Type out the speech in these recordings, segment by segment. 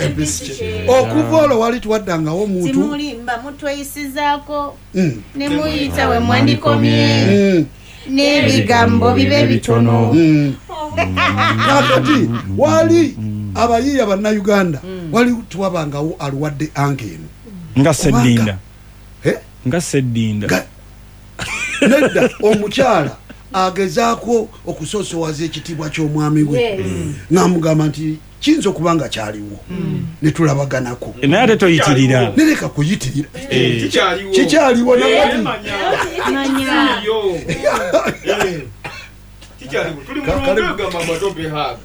Empisi kye. Okuva olwo wali tuwaddangawo omuntu. Timulimba, mutweyisizaako ne muyita we mwandikomye n'ebigambo bibe bitono. Kakati wali abayiiya Bannayuganda, wali tuwabangawo aluwadde ange eno. Nga Seddinda. Eh? Nga Seddinda. Nedda, omukyala agezaako okusoosowaza ekitiibwa ky'omwami we ng'amugamba nti kiyinza okuba nga kyaliwo ne tulabaganako. Naye ate toyitirira. Nereka kuyitirira. Kikyaliwo. Kikyaliwo nakati. Manya. Yo. Kikyaliwo. Tuli mu lumbe ogamba mbu ate ompe hug.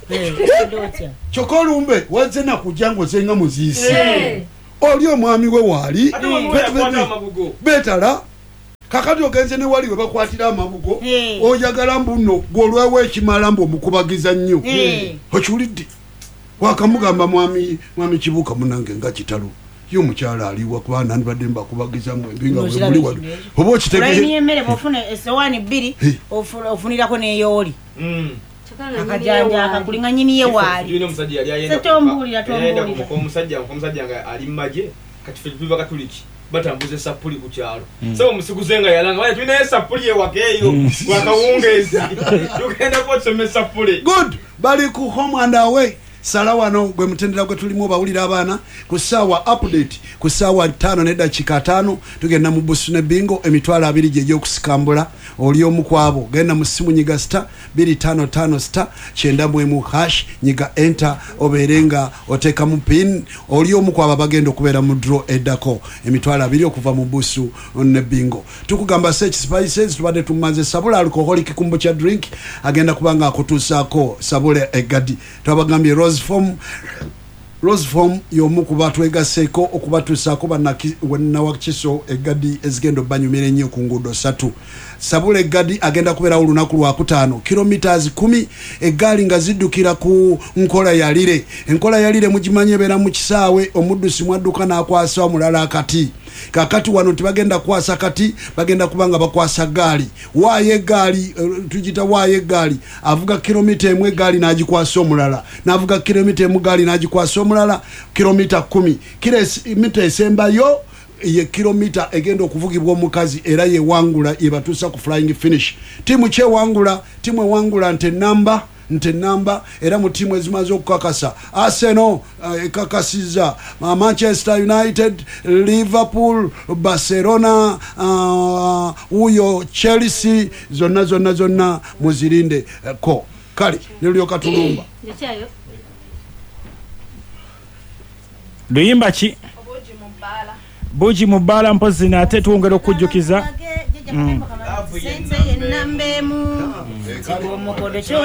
Kyokka olumbe wazze nakujja ng'oze nga muziisi oli omwami we waali. Ate waliwo yakwata amabugo. Beetala kakati ogenze ne wali we bakwatira amabugo. Oyagala mbu nno gw'olwawo ekimala mbu omukubagiza nnyo. Okiwulidde, wakamugamba mwami Kibuuka munange nga kitalo ye omukyala aliwa, kuba nandibadde mbakubagiza mwembi nga Ng'okiraba bwe muli wano. ekintu ekyo. Oba Layini okitegere. y'emmere bw'ofuna esowaani bbiri, ofunirako n'eyooli akajanja akakuli nga nyini ye waali. Tulina omusajja yali ayenda Se tombuulira, yali ayenda tombuulira. ku mukomusajja nga ali mu magye. Kati ffe tuli Bakatuliki, batambuza esapuli ku kyalo. Saba omusiguze nga yalanga bale tulinayo esapuli ewaka eyo lwakawungeezi tugenda kuba esapuli. Good, bali ku Home and Away. Sala wano gwe mutendera gwe tulimu. Obawulira abaana ku ssaawa update ku ssaawa 5:05 tugenda mu busu ne bingo, 20,000 gyegyokusikambula. Oli omu ku abo, genda mu simu, nyiga *255*91#, nyiga enter, obeere nga oteekamu pin. Oli omu ku abo abagenda okubeera mu draw eddako, 20,000 okuva mu busu ne bingo. Tukugamba Search Spices, tubadde tumaze sabula alcoholic kombucha drink, agenda kuba nga akutuusaako sabula egadi. Twabagambye Rose Form, Rose Form y'omu ku batwegaseeko okubatuusaako bannawakiso egadi ezigenda obbanyumira ennyo ku nguudo ssatu. Sabula egadi agenda kubeerawo olunaku lwakutaano, kilometers 10, eggaali nga ziddukira ku nkola ya relay. Enkola ya relay mugimanyi, ebeera mu kisaawe, omuddusi mwadduka n'akwasa omulala akati. Kakati wano tebagenda kukwasa kati, bagenda kuba nga bakwasa gaali. Waayo eggaali, tugita waayo eggaali, avuga kilomita 1 eggaali n'agikwasa omulala, n'avuga kilomita 1 gaali n'agikwasa omulala, kilomita 10. Kilomita esembayo ye kilomita egenda okuvugibwa omukazi, era yewangula, yebatuusa ku flying finish. Tiimu kyewangula, tiimu ewangula nte namba, nte namba. Era mu tiimu ezimaze okukakasa, Arsenal ekakasiza, Manchester United, Liverpool, Barcelona, wuyo Chelsea, zonna zonna zonna muzirinde ko. Kale nelulyoka tulumba. Ndekyayo. Luyimba ki? Bugi mu bbaala. Mpozi nate twongera okujjukiza. Sente ye namba emu, omukodo.